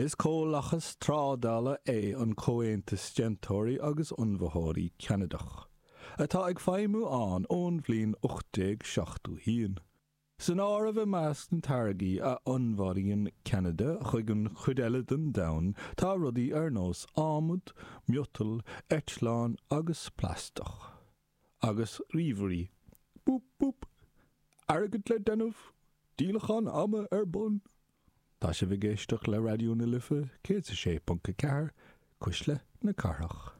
Is comhlachas trádála é an Comhaontas Déantóirí agus Onnmhaitheoirí Ceanadach, atá ag feidhmiú ann ón bhliain 1871. San áireamh i measc na táirgí a onnmhairíonn Ceanada chuig an chuid eile den domhan tá rudaí ar nós adhmad, miotal, eitleáin agus plaisteach. Agus ríomhairí. Búp búp! Airgead le déanamh! Díolachán ama ar bun! Tá sibh ag éisteacht le Raidió na Life 106.4, Cuisle na Cathrach.